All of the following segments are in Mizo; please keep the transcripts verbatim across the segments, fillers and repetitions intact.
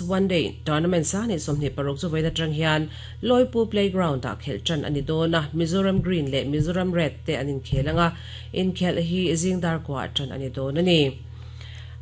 One Day Tournament sa ni sawmhnih paruk chu vawiin atang hian Lawipu Playground ah khelh tan a ni dawn a, Mizoram Green leh Mizoram Red te an inkhel anga inkhelh hi zing dar kuah tan a ni dawn a ni.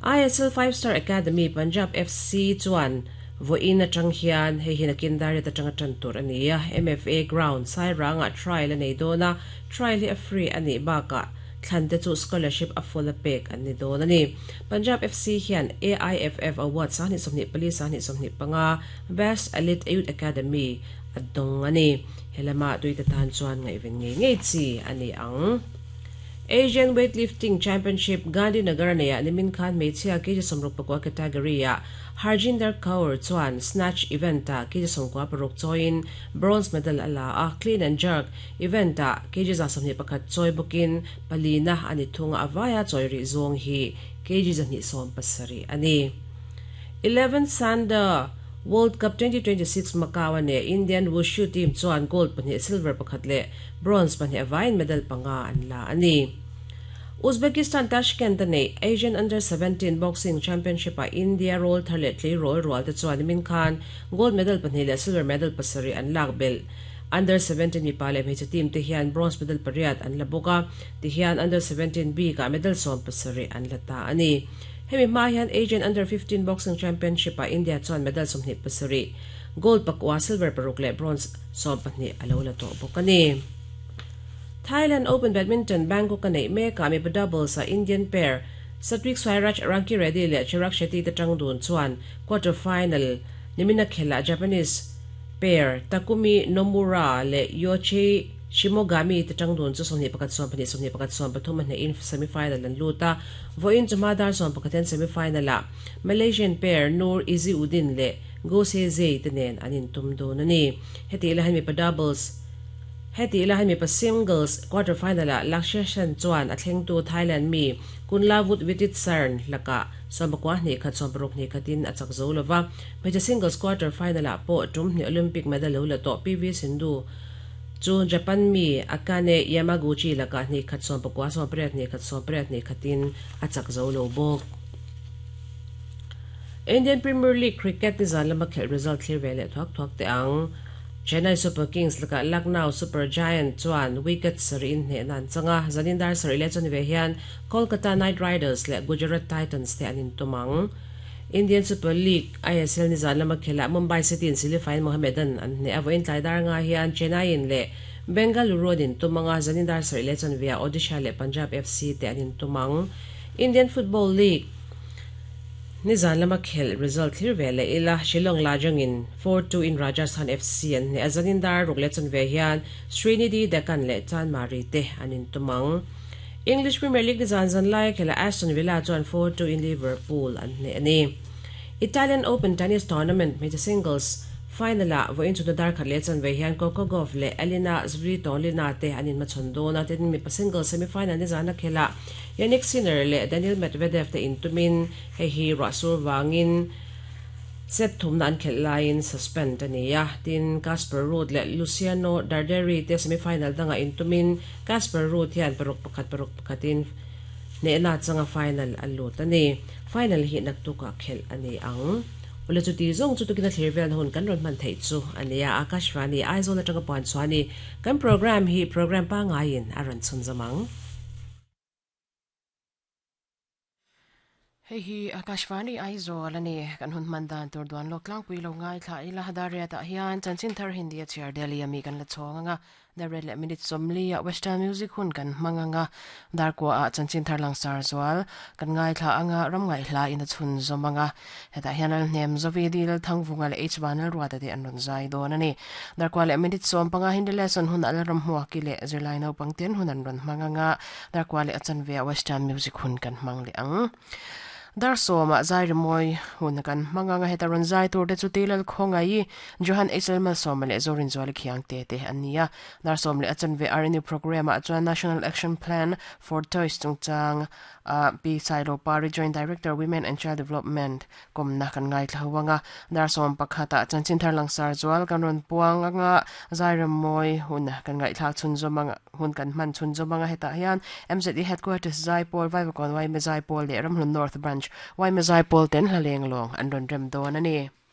I S L Five Star Academy Punjab F C chuan vawiin atang hian hei hi nakin dar riat atanga tan tur a ni a, M F A Ground Sairangah trial a nei dawn a, trial hi a free a nih bakah thlan te chu scholarship a full a pek an ni dawn a ni. Punjab F C hian A I F F Award sa ni sawmhnih pali sa ni sawmhnih panga Best Elite Youth Academy a dawng a ni. Helama tuite tan chuan ngaihven ngei ngei chi a ni ang. Asian Weightlifting Championship Gandhinagar neia nimin khan hmeichhia kg sawmruk pakua category ah Harjinder Kaur chuan snatch event ah kg sawmkua paruk chawiin bronze medal a la a, clean and jerk event ah kg za sawmhnih pakhat chawi bawkin palina a ni thunga a vaia chawi rih zawng hi kg zahnih sawm pasarih a ni. eleven Sanda World Cup twenty twenty-six Macau ane Indian Wushu team chuan gold pahnih silver pakhat leh bronze pahnih a vaiin medal panga an la a ni. Uzbekistan Tashkent ane Asian Under seventeen Boxing Championship a India roll thar leh tlei roll rual te chuan nimin khan gold medal pahnih leh silver medal pasarih an lak bel. Under seventeen mipa leh hmeichhe team te hian bronze medal pariat an la bawk a, ti hian Under seventeen B ka medal sawm pasarih an la ta a ni. Hemi hma hian Asian Under fifteen Boxing Championship a India chuan medal sawmhnih pasarih, gold pakua, silver paruk leh bronze sawm pahnih a lo la tawh bawk a ni. Thailand Open Badminton Bangkok a neih mekah mipa doubles a Indian pair Satwik Sairaj Ranki Reddy leh Chirag Shetty te tang dun chuan quarter final nimina khela Japanese pair Takumi Nomura leh Yoichi Shimogami te tang dun chu sawmhnih pakhat sawm pahnih sawmhnih pakhat sawm pathum a hnehin semi-final an lut a, vawiin chu hma dar sawm pakhatin semi-final ah Malaysian pair Nur Izzuddin leh Goh Se Zhe te nen an intum dun a ni. Heti la han mipa doubles heti la han mipa singles quarter final ah Lakshya Sen chuan a thleng tu Thailand mi Kunlavut Vitidsarn laka sawm pakua hnih khat sawm paruk hnih khatin a chak zo lova, hmeichhe singles quarter final ah pawh tum hnih Olympic medal lo la tawh P V Sindhu chu Japan mi Akane Yamaguchi laka hnih khat sawm pakua sawm pariat hnih khat sawm pariat hnih khatin a chak zo lo bawk. Indian Premier League cricket ni zan lama khelh result thlir ve leh thuak thuak te ang. Chennai Super Kings laka Lucknow Super Giant chuan wicket sarih in hneh nan changa, zanin dar sarih leh chuan ve hian Kolkata Knight Riders leh Gujarat Titans te an intumang. Indian Super League I S L ni zan lama khela Mumbai City in Silifain Mohammedan an hneh a vawiin tlai dar nga hian Chennai in leh Bengaluru an intumanga, zanin dar sarih leh chuan via Odisha leh Punjab F C te an intumang. Indian Football League ni zan lama khel result thlir ve leh ila Shillong Lajong in four two in Rajasthan F C an hneh a, zanin dar ruk leh chuan ve hian Srinidhi Deccan leh Chanmari te an intumang. English Premier League ni zan zan lai khela Aston Villa chuan four two in Liverpool an hneh a ni. Italian Open Tennis Tournament hmeichhe singles final ah vawiin chu dar khat leh chuan ve hian Coco Gauff leh Elina Svitolina te an inhmachhawn dawn a, tin mipa singles semi-final ni zana khela Yannick Sinner leh Daniil Medvedev te intumin hei hi ruahsur wangin set thumna an khelh laiin suspend a ni a, tin Casper Ruud leh Luciano Darderi te semi-final danga intumin Casper Ruud hian paruk pakhat paruk pakhatin hnehna changa final an lut a ni. Final hi naktuka khelh a ni ang. Ule chu ti zawng chu tukina thlir vel hun kan rawn hman theih chu a ni a, Akashvani Aizawl atanga puan chuani kan program hi program pa ngaiin a rawn chhun zamang. Hei hi Akashvani Aizawl ani kan hun hman dan tur duan lawk tlangpui lo ngai thla ila daria tah hian chanchin thar Hindi a chhiar Delhi ami kan la chhawng anga dar leh minute sawmli a Western music hun kan hmang anga dar kwa a chanchin thar langsar zual kan ngai thla anga ram ngai hla in a chhun zawm anga hetah hian al hnem zovi dil thangvunga leh H banal ruata te an rawn zai dawn ani dar kwa leh minute sawm panga Hindi lesson hun al ram hmuaki leh zirlai naupang ten hun an rawn hmang anga dar kwa leh a chanve a Western music hun kan hmang leh ang. Dar sawma zai rimoi hun kan hmanga heta rawn zai tur te chu tilal khawngai Johan H L sawma leh Zorin Zuali khiang te te ania dar sawm leh a chanve R N U program ah chuan National Action Plan for Toys chungchang a P Sailo Pari Joint Director Women and Child Development komna kan ngai thlawanga dar sawm pakhata chanchin thar langsar zual kan rawn puang anga zai rimoi hun kan ngai thla chhun zawmanga hun kan hman chhun zawmanga hetah hian M Z E headquarters Zaipawl Vaivakawn Y M Zaipawl leh Ramhlun North Branch Branch Y M A Zaipawl ten hla leng lawng an rawn rem dawn a ni.